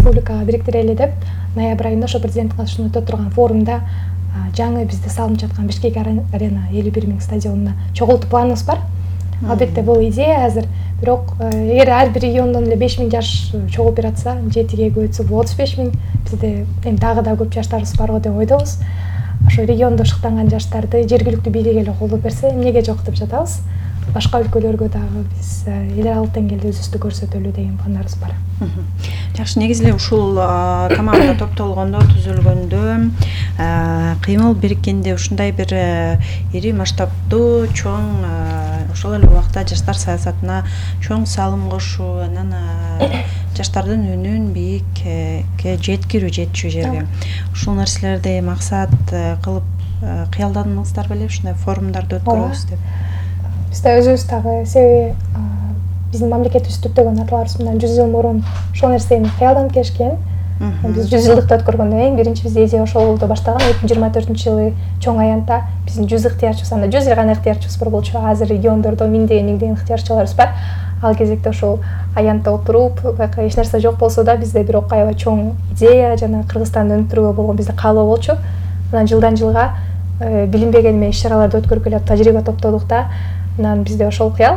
республикага бириктирели деп ноябрь айында ошо президенттин катышуусунда өтө турган форумда жаңы бизде салынып жаткан Бишкек арена 51 000 стадионуна чогултуу планыбыз бар. Албетте бул идея азыр, бирок эгер ар бир региондон эле 5 000 жаш чогулуп бератса, жетиге көбөйтсө бул 35 000. Бизде эми дагы да көп жаштарыбыз барго деп ойдобуз. Ошо региондо шыктанган жаштарды жергиликтүү бийлик эле колдоп берсе, эмнеге жок деп жатабыз. Башка өлкөлөргө дагы биз эл аралык деңгээлде өзүбүздү көрсөтөлү деген пландарыбыз бар. Жакшы, негизи эле ушул команда топтолгондо, түзүлгөндө, кыймыл бириккенде ушундай бир ири масштабдуу, чоң, ошол эле убакта жаштар саясатына чоң салым кошуу, анан жаштардын үнүн бийикке жеткирүү жерге. Ушул нерселерди максат кылып кыялдадыңыздар беле, ушундай форумдарды өткөрөбүз деп? Бизде өзүбүз дагы, себеби биздин мамлекетибиз түптөгөн аталарыбыз мындан 100 жыл мурун ошол нерсени кыялданып келишкен. Биз 100 жылдыкты өткөргөндөн кийин биринчи бизде идея ошолдо башталган. 2024-жылы чоң аянтта биздин 100 ыктыярчыбыз, анда 100 гана ыктыярчыбыз бар болчу. Азыр региондордо миңдеген ыктыярчыларыбыз бар. Ал кезекте ошол аянтта отуруп, байка эч нерсе жок болсо да бизде бирок аябай чоң идея жана Кыргызстанды өнүктүрүүгө болгон бизде каалоо болчу. Анан жылдан жылга билинбеген эме иш-чараларды өткөрүп келип тажрыйба топтодук да. Анан бизде ошол кыял,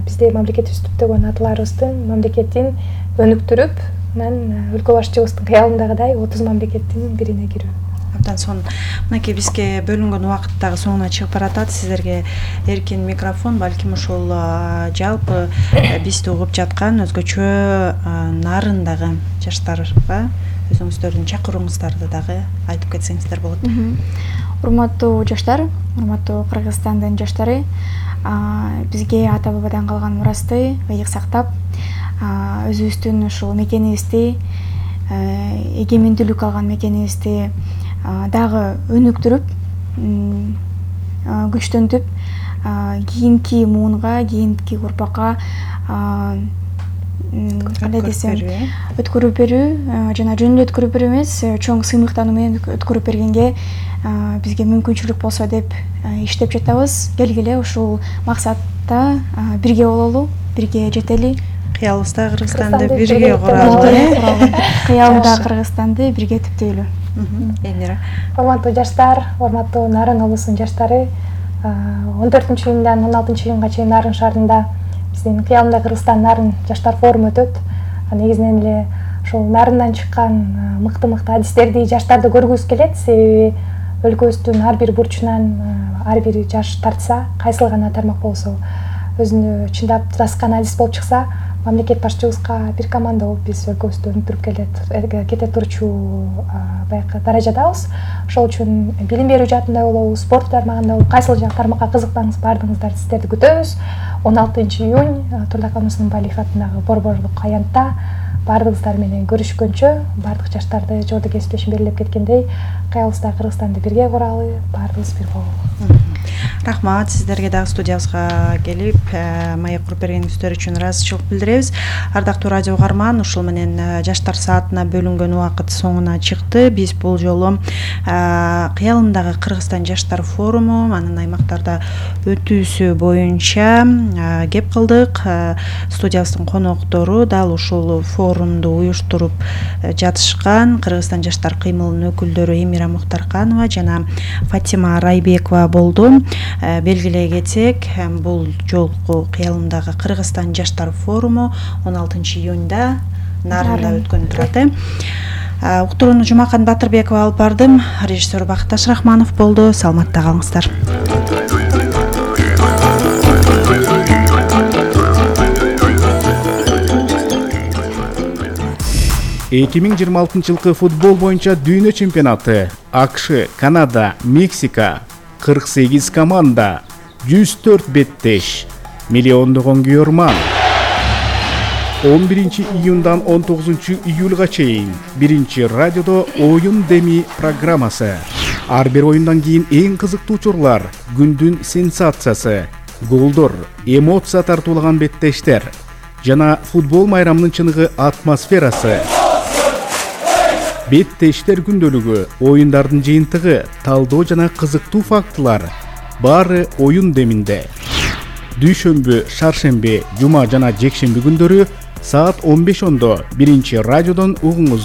бизде мамлекетибиз түптөгөн аталарыбыздын мамлекетин өнүктүрүп, анан өлкө башчыбыздын кыялындагыдай 30 мамлекеттин бирине кирүү. Абдан сонун. Мынакей бизге бөлүнгөн убакыт дагы соңуна чыгып баратат. Сиздерге эркин микрофон, балким ушул жалпы бизди угуп жаткан өзгөчө нарындагы жаштарга өзүңүздөрдүн чакырууңуздарды дагы айтып кетсеңиздер болот. Урматтуу жаштар, урматтуу Кыргызстандын жаштары, бизге ата бабадан калган мурасты ыйык сактап, өзүбүздүн ушул мекенибизди, эгемендүүлүк алган мекенибизди дагы өнүктүрүп, күчтөнтүп, кийинки муунга, кийинки урпакка кандай десем, өткөрүп берүү жана жөн эле өткөрүп берүү эмес, чоң сыймыктануу менен өткөрүп бергенге бизге мүмкүнчүлүк болсо деп иштеп жатабыз. Келгиле ушул максатта бирге бололу, бирге жетели. Кыялыбызда Кыргызстанды бирге куралы. Кыялда Кыргызстанды бирге түптөйлү. Элмира. Урматтуу жаштар, урматтуу Нарын облусунун жаштары, 14-июндан 16-июнга чейин Нарын шаарында биздин кыялында Кыргызстан Нарын жаштар форуму өтөт. Негизинен эле ошол Нарындан чыккан мыкты-мыкты адистерди жаштарды көргүбүз келет. Себеби өлкөбүздүн ар бир бурчунан ар бир жаш тартса, кайсыл гана тармак болсо, өзүнө чындап тураскан адис болуп чыкса, мамлекет башчыбызга бир команда болуп биз өлкөбүздү өнүктүрүп кете турчу байкы даражадабыз. Ошол үчүн билим берүү жаатында болобу, спорт тармагында болобу, кайсыл тармакка кызыксаңыз баардыгыңыздарды сиздерди күтөбүз. 16-июнь Турдакан Усманбалиев атындагы борборлук аянтта баардыгыңыздар менен көрүшкөнчө, баардык жаштарды жолдо кесиптешим белгилеп кеткендей, кыялыбызда Кыргызстанды бирге куралы, баардыгыбыз бир бололу. Рахмат, сиздерге дагы студиябызга келип, маек куруп бергениңиздер үчүн ыраазычылык билдиребиз. Ардактуу радио угарман, ушул менен жаштар саатына бөлүнгөн убакыт соңуна чыкты. Биз бул жолу кыялымдагы Кыргызстан жаштар форуму, анын аймактарда өтүүсү боюнча кеп кылдык. Студиябыздын коноктору дал ушул форумду уюштуруп жатышкан Кыргызстан жаштар кыймылынын өкүлдөрү Эмира Мухтарканова жана Фатима Райбекова болду. Белгилей кетсек, бул жолку кыялымдагы Кыргызстан жаштар форуму 16-июнда Нарында өткөн турат. Уктурууну Жумакан Батырбекова алып бардым. Режиссер Бакташ Рахманов болду. Саламатта калыңыздар. 2026 футбол боюнча дүйнө чемпионаты. АКШ, Канада, Мексика, 48 команда, 104 беттеш, миллиондогон күйөрман. 11 июндан 19 июлга чейин биринчи радиодо оюн деми программасы. Ар бир оюндан кийин эң кызыктуу учурлар, күндүн сенсациясы, голдор, эмоция тартуулаган беттештер жана футбол майрамынын чыныгы атмосферасы. Беттештер күндөлүгү, оюндардын жыйынтыгы, талдоо жана кызыктуу фактылар баары оюн деминде. Дүйшөмбү, шаршемби, жума жана жекшемби күндөрү саат 15:00 биринчи радиодон угуңуз.